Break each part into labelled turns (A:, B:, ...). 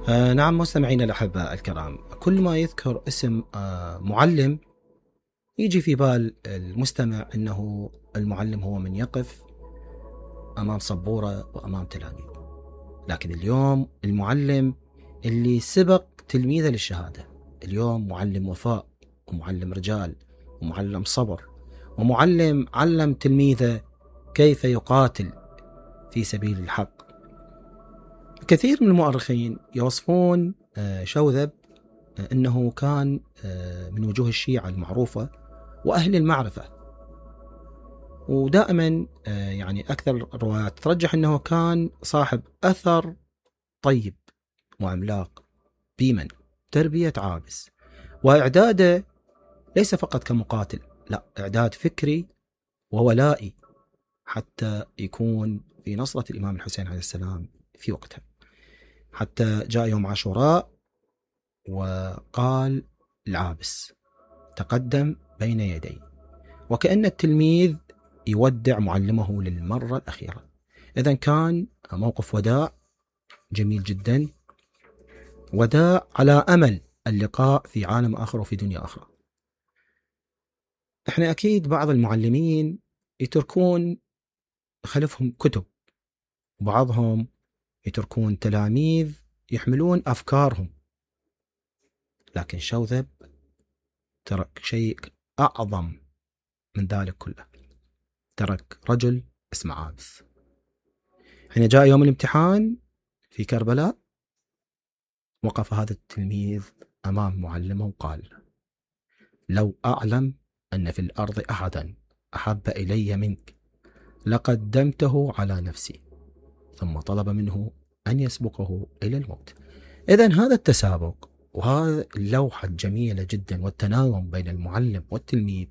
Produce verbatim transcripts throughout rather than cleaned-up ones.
A: آه نعم مستمعينا الأحباء الكرام، كل ما يذكر اسم آه معلم يجي في بال المستمع أنه المعلم هو من يقف أمام سبورة وأمام تلاميذ. لكن اليوم المعلم اللي سبق تلميذه للشهادة، اليوم معلم وفاء ومعلم رجال ومعلم صبر ومعلم علم تلميذه كيف يقاتل في سبيل الحق. كثير من المؤرخين يوصفون شوذب أنه كان من وجوه الشيعة المعروفة وأهل المعرفة، ودائما يعني أكثر الروايات ترجح أنه كان صاحب أثر طيب وعملاق بيمن تربية عابس، وإعداده ليس فقط كمقاتل، لا، إعداد فكري وولائي حتى يكون في نصرة الإمام الحسين عليه السلام في وقتها. حتى جاء يوم عاشوراء وقال العابس تقدم بين يدي، وكأن التلميذ يودع معلمه للمرة الأخيرة. إذن كان موقف وداع جميل جدا، وداع على أمل اللقاء في عالم آخر وفي دنيا أخرى. إحنا أكيد بعض المعلمين يتركون خلفهم كتب، وبعضهم يتركون تلاميذ يحملون أفكارهم، لكن شوذب ترك شيء أعظم من ذلك كله، ترك رجل اسمه عابس. حين جاء يوم الامتحان في كربلاء وقف هذا التلميذ أمام معلمه وقال: لو أعلم أن في الأرض أحدا أحب إلي منك لقدمته على نفسي. ثم طلب منه أن يسبقه إلى الموت. إذن هذا التسابق وهذا اللوحة الجميلة جدا والتناغم بين المعلم والتلميذ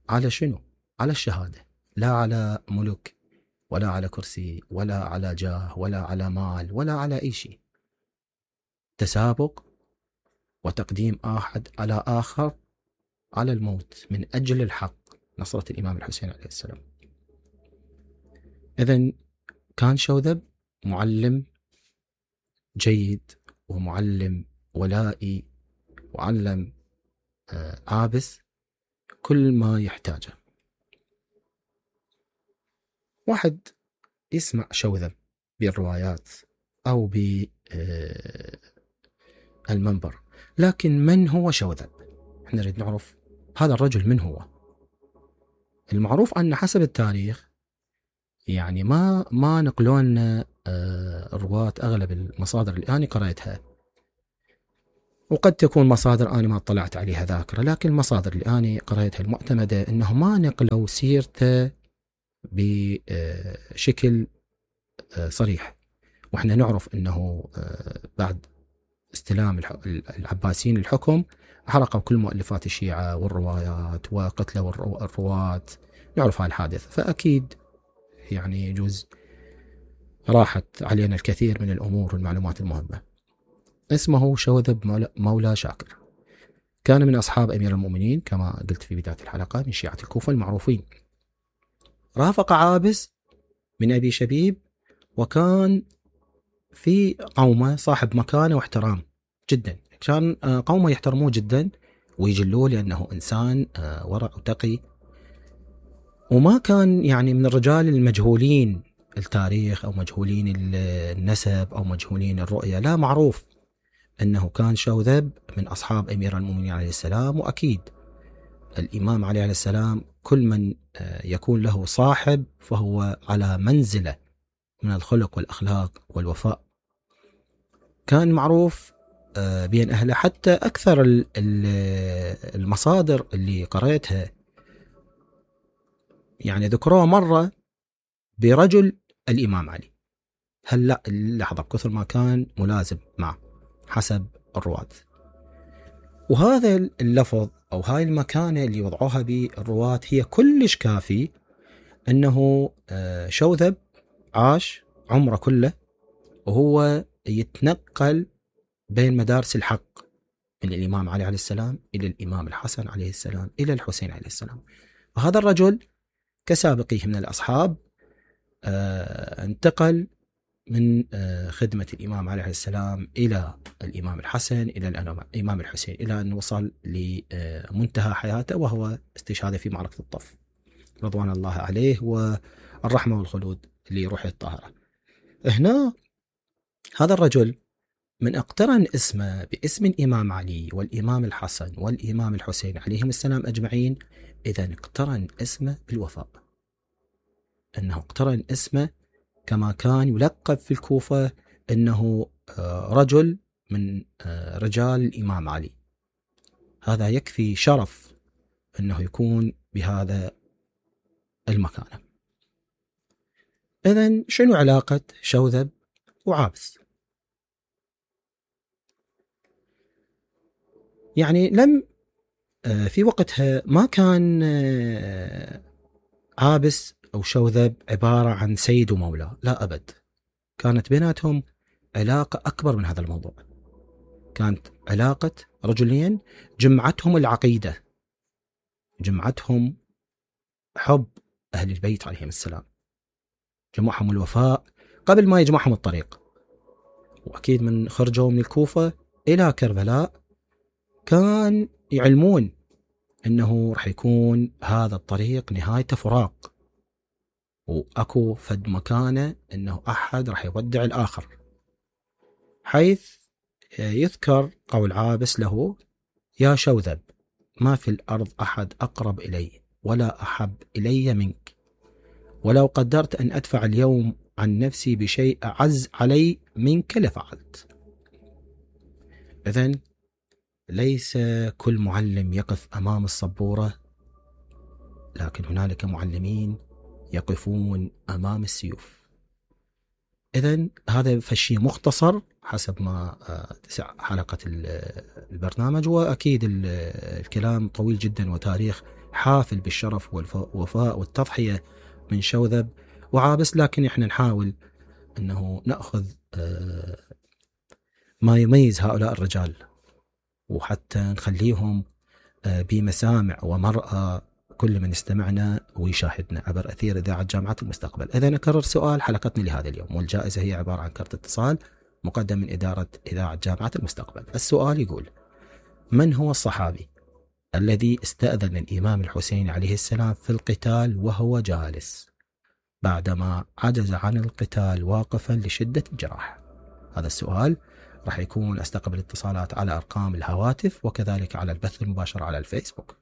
A: على شنو؟ على الشهادة، لا على ملك ولا على كرسي ولا على جاه ولا على مال ولا على أي شيء. تسابق وتقديم أحد على آخر على الموت من أجل الحق، نصرة الإمام الحسين عليه السلام. إذن كان شوذب معلم جيد ومعلم ولائي، وعلم عابس كل ما يحتاجه. واحد يسمع شوذب بالروايات أو بالمنبر، لكن من هو شوذب؟ احنا نريد نعرف هذا الرجل من هو. المعروف أن حسب التاريخ يعني ما ما نقلون الرواة أغلب المصادر اللي أنا قرأتها، وقد تكون مصادر أنا ما اطلعت عليها ذاكرة، لكن المصادر اللي أنا قرأتها المعتمدة إنه ما نقلوا سيرته بشكل صريح. وإحنا نعرف إنه بعد استلام العباسيين الحكم حرقوا كل مؤلفات الشيعة والروايات وقتلوا الرواة، نعرف هاي الحادثة، فأكيد يعني يجوز راحت علينا الكثير من الأمور والمعلومات المهمة. اسمه شوذب مولى شاكر، كان من أصحاب أمير المؤمنين كما قلت في بداية الحلقة، من شيعة الكوفة المعروفين. رافق عابس من أبي شبيب، وكان في قومه صاحب مكانة واحترام جدا، كان قومه يحترموه جدا ويجلوه لأنه إنسان ورع وتقي، وما كان يعني من الرجال المجهولين التاريخ أو مجهولين النسب أو مجهولين الرؤية، لا، معروف أنه كان شوذب من أصحاب أمير المؤمنين عليه السلام. وأكيد الإمام عليه السلام كل من يكون له صاحب فهو على منزلة من الخلق والأخلاق والوفاء. كان معروف بين أهله، حتى أكثر المصادر اللي قرأتها يعني ذكروه مرة برجل الإمام علي. هل لا لحظة، بكثر ما كان ملازم معه حسب الرواة. وهذا اللفظ أو هاي المكانة اللي وضعوها بالرواة هي كلش كافي أنه شوذب عاش عمره كله وهو يتنقل بين مدارس الحق، من الإمام علي عليه السلام إلى الإمام الحسن عليه السلام إلى الحسين عليه السلام. وهذا الرجل كسابقيه من الأصحاب انتقل من خدمة الإمام عليه السلام إلى الإمام الحسن إلى الإمام الحسين، إلى أن وصل لمنتهى حياته وهو استشهاده في معركة الطف رضوان الله عليه والرحمة والخلود لروحه الطاهرة. هنا هذا الرجل من اقترن اسمه باسم الإمام علي والإمام الحسن والإمام الحسين عليهم السلام أجمعين، إذا اقترن اسمه بالوفاء، أنه اقترن اسمه كما كان يلقب في الكوفة أنه رجل من رجال الإمام علي. هذا يكفي شرف أنه يكون بهذا المكان. إذن شنو علاقة شوذب وعابس؟ يعني لم في وقتها ما كان عابس أو شوذب عبارة عن سيد ومولى، لا أبد، كانت بيناتهم علاقة أكبر من هذا الموضوع. كانت علاقة رجلين جمعتهم العقيدة، جمعتهم حب أهل البيت عليهم السلام، جمعهم الوفاء قبل ما يجمعهم الطريق. وأكيد من خرجوا من الكوفة إلى كربلاء كان يعلمون أنه رح يكون هذا الطريق نهايته فراق، وأكو فد مكانه أنه أحد رح يودع الآخر، حيث يذكر قول عابس له: يا شوذب، ما في الأرض أحد أقرب إلي ولا أحب إلي منك، ولو قدرت أن أدفع اليوم عن نفسي بشيء أعز علي منك لفعلت. إذن ليس كل معلم يقف أمام السبورة، لكن هنالك معلمين يقفون أمام السيوف. إذن هذا فشي مختصر حسب ما تسع حلقة البرنامج، وأكيد الكلام طويل جدا وتاريخ حافل بالشرف والوفاء والتضحية من شوذب وعابس، لكن إحنا نحاول أنه نأخذ ما يميز هؤلاء الرجال، وحتى نخليهم بمسامع ومرأة كل من يستمعنا ويشاهدنا عبر أثير إذاعة جامعة المستقبل. إذا نكرر سؤال حلقتنا لهذا اليوم، والجائزة هي عبارة عن كرت اتصال مقدم من إدارة إذاعة جامعة المستقبل. السؤال يقول: من هو الصحابي الذي استأذن الإمام الحسين عليه السلام في القتال وهو جالس بعدما عجز عن القتال واقفا لشدة الجراح؟ هذا السؤال راح يكون استقبل اتصالات على أرقام الهواتف وكذلك على البث المباشر على الفيسبوك.